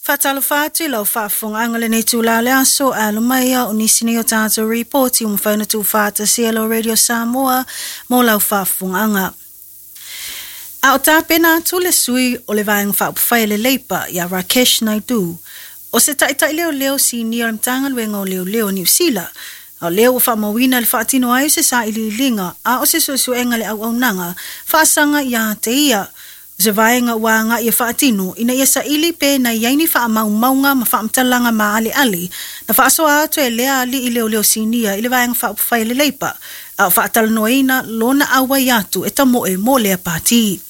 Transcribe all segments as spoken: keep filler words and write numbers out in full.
Faatalofa atu i lau faafofogaaga lenei itulā o le aso, alo mai o nisi nei o tatou ripoti ua mafai ona tuufaatasia e lau Radio Samoa mo lau faafofogaaga. A o tapena atu le sui o le Vaega Faaupufai a le Leipa ia Rakesh Naidu, o se taitai leoleo sinia o le Matagaluega o Leoleo o Niu Sila, a o lea ua faamauina le faatino ai o se sailiiliga a o se suesuega le auaunaga faasaga ia te ia. O se vaega ua agai e faatino ina ia saili pe na i ai ni faamaumauga ma faamatalaga maaleale na faasoa atu e lea alii leoleo sinia i le Vaega Faaupufai a le Leipa, a o faatalanoaina lona auai atu e tamoe mo lea pati.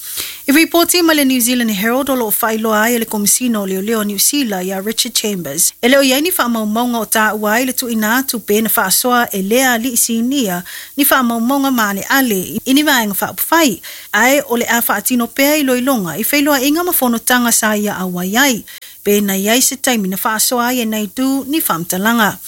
I ripoti ma le New Zealand Herald, o loo faailoa ai e le Komisina o Leoleo Niu Sila ia Richard Chambers, e le o i ai ni faamaumauga o taua ai le tuuina atu pe na faasoa e lea alii sinia ni faamaumauga maaleale i ni vaega faaupufai, ae o le a faatino pea iloiloga i feiloaiga ma fonotaga sa ia auai ai, pe na i ai se taimi na faasoa ai e Naidu ni faamatalaga.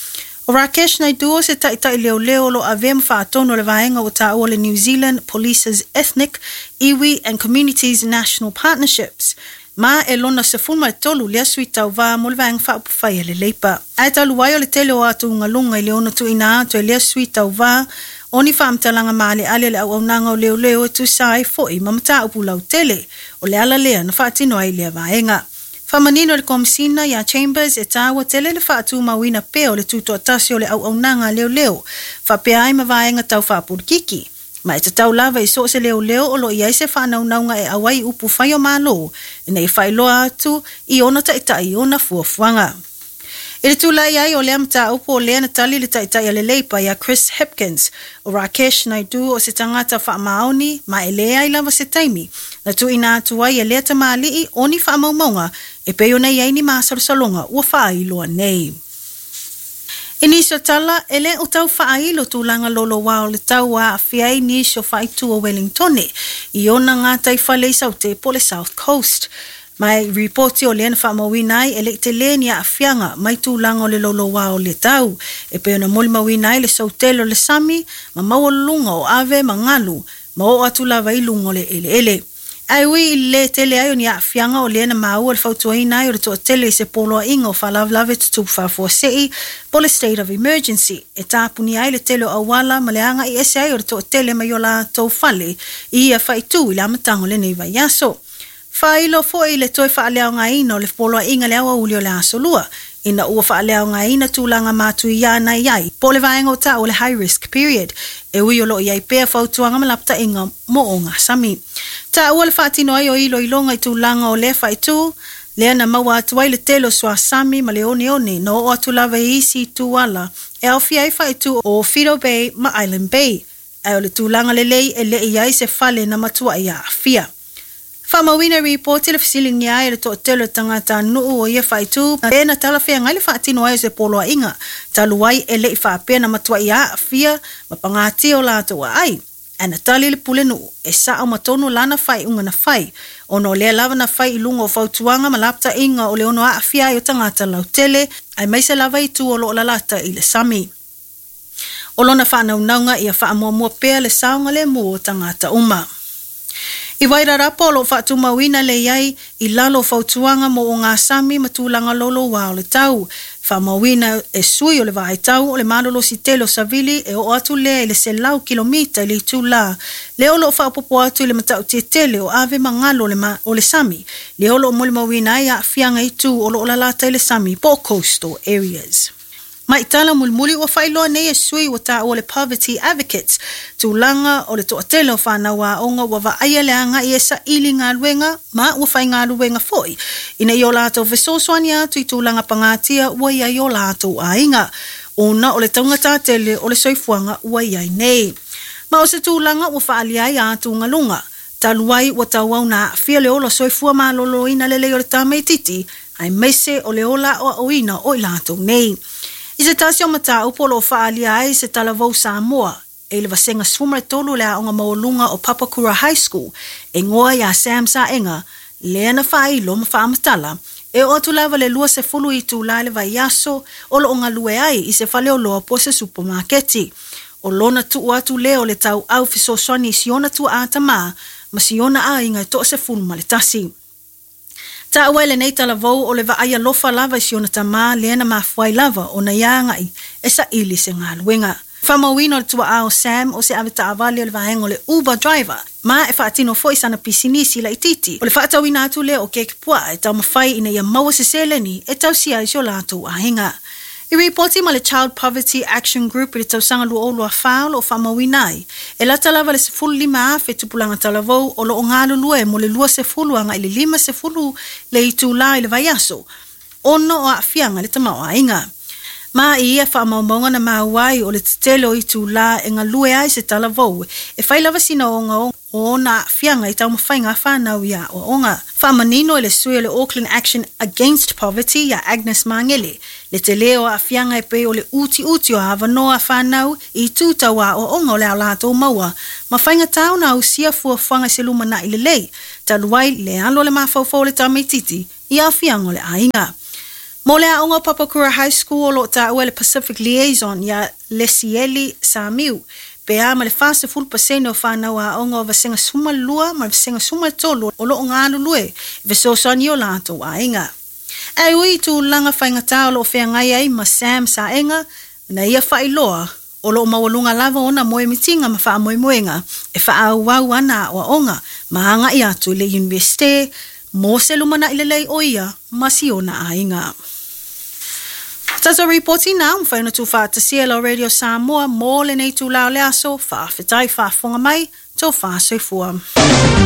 O Rakesh Naidu o se taitai leoleo o lo avea ma faatonu o le vaega ua taua le New Zealand Police's Ethnic, Iwi and Communities National Partnerships, ma e lona sefulu ma le tolu lea sui tauvā mo le Vaega Faaupufai a le Leipa. Ae talu ai o le tele o atugaluga i le ono tuuina atu e lea sui tauvā o ni faamatalaga maaleale le auaunaga o leoleo e tusa ai foi ma mataupu lautele, o le ala lea na faatino ai lea vaega. Faamanino le Komisina ia Chambers e taua tele le faatumauina pea o le tutoatasi o le auaunaga leoleo faapea ai ma vaega tau faapolokiki, ma e tatau lava i so o se leoleo o lo o i ai se faanaunauga e auai upu fai o Malo ina ia faailoa atu i ona taitai ona fuafuaga. I le tulai ai o lea mataupu, o lea na tali le taitai a le Leipa ia Chris Hipkins, o Rakesh Naidu o se tagata faamaoni ma e leai lava se taimi na tuuina atu ai e lea tamalii o ni faamaumauga e pei ona i ai ni masalosaloga ua faailoa nei. I nisi o tala, e le o tau faailo tulaga loloa o le tau ua aafia ai nisi o faaitu o Wellingtone i ona gataifale i Saute po o le South Coast. Ma e ripoti o lea na faamauina ai e le i tele ni aafiaga mai tulaga o le loloa o le tau, e pei ona molimauina ai le soutele o le sami ma maualuluga o ave ma galu ma oo atu lava i luga o le eleele. Ae ui i le tele ai o ni aafiaga, o lea na maua le fautuaina ai o le toatele i se poloaiga o faalavelave tutupu faafuasei po le state of emergency e tapuni ai le tele o auala ma le agai ese ai o le toatele mai o latou fale i ia faaitu i le amataga o lenei vaiaso. Faailoa foi le toe faaleaogaina o le poloaiga le aoauli o le aso Lua, ina ua faaleaogaina tulaga matuia na i ai po o le vaega o taua le high risk period, e ui o loo i ai pea fautuaga ma lapataiga mo ogasami. Taua le faatino ai o iloiloga i tulaga o lea faaitu lea na maua atu ai le tele o suasami ma le oneone na oo atu lava i isi itu ala e aofia ai faaitu o Fido Bay ma Island Bay, ae o le tulaga lelei e le i ai se fale na matuai aafia. Faamauina ripoti le fesiligia ai e le toatele o tagatanuu o ia faaitu pe na talafeagai le faatino ai o se poloaiga talu ai e le i faapea na matuai aafia ma pagatia o latou aai. Ae na tali le pulenuu e sao ma tonu lana faaiuga na fai, ona o lea lava na fai i luga o fautuaga ma lapataiga o le ono aafia ai o tagata lautele, aemaise lava itu o loo lalata i le sami. O lona faanaunauga ia faamuamua pea le saogalemu o tagata uma. I Wairarapa, o loo faatumauina le i ai i lalo o fautuaga mo ogasami ma tulaga loloa o le tau. Faamauina e sui o le vaaitau o le malolosi tele o savili e oo atu lea i le selau kilomita i le itulā, lea o loo faaopoopo atu i le matautia tele o ave ma galu o le, ma, o le sami, lea o loo molimauina ai aafiaga i itu o loo lalata i le sami po o coastal areas. Ma i tala mulimuli, ua faailoa nei e sui ua taua le Poverty Advocates tulaga o le toatele o fanau aoga ua vaaia le agai e saili galuega ma ua faigaluega foi ina ia o latou fesoasoani atu i tulaga pagatia ua i ai o latou aiga, ona o le taugata tele o le soifuaga ua i ai nei. Ma o se tulaga ua faaalia ai atugaluga talu ai ua tauau na aafia le ola soifua malōlōina lelei o le tamaititi, aemaise o le ola aoaoina o i latou nei. I se tasi o mataupu o loo faaalia ai se talavou Samoa e le vasega sefulu ma le tolu le aoga maualuga o Papakura High School e igoa ia Sam Saega, lea na faailo ma faamatala e oo atu lava le luasefulu itulā le vaiaso o loo galue ai i se faleoloa po o se supamaketi. O lona tuu atu lea o le tauau fesoasoani i si ona tuaa tamā ma si ona aiga e toasefulu ma le tasi. Taua e lenei talavou o le vaai alofa lava i si ona tamā lea na mafua ai lava ona ia aga'i e saʻili se galuega. Faamauina o le tua'a o Sam o se avetaavale o le vaega o le Uber driver ma e faatino fo'i sana pisinisi laitiiti. O le faatauina atu lea o keke puaa e taumafai ina ia maua se seleni e tausia ai si o latou aiga. I ripoti ma le Child Poverty Action Group i le tausaga lua o lua fa o lo o faamauina ai e lata lava le sefulu lima afe tupulaga talavou o lo o galulue mo le luasefulu agai i le limasefulu le itulā i le vaiaso ona o aafiaga i le tamaoaiga. Ma i ia faamaumauga na maua ai o le tetele o itulā e galue ai se talavou e fai lava sina ogaoga o ona aafiaga i taumafaiga a fanau i aoaoga. Faamanino e le sui o le Auckland Action Against Poverty ia Agnes Magele le telē o aafiaga e pei o le utiuti o avanoa a fanau i itu tau aoaoga o le a latou maua ma faigatā ona ausia fuafuaga i se lumanaʻi lelei talu ai le alo o le mafaufau o le tamaitiiti i aafiaga o le aiga. Mo le aoga o Papakura High School o lo o taua e le Pacific Liaison ia Lesieli Samiu pe a ma le fasefulu pasene o fanau aoga o vasega sefulumalua ma le vasega sefulumatolu o lo o galulue e fesoasoani i o latou aiga. Ae ui i tulaga faigata o lo o feagai ai ma Sam Saega na ia faailoa o lo o maualuga lava ona moemitiga ma faamoemoega e faaauau ana aoaoga ma agaʻi atu i le Iunivesite mo se lumanaʻi lelei o ia ma si ona aiga. Tatou ripoti na mafai ona tuufaatasia e lau Radio Samoa mo lenei itulā o le aso. Faafetai faafofoga mai, tofa soifua.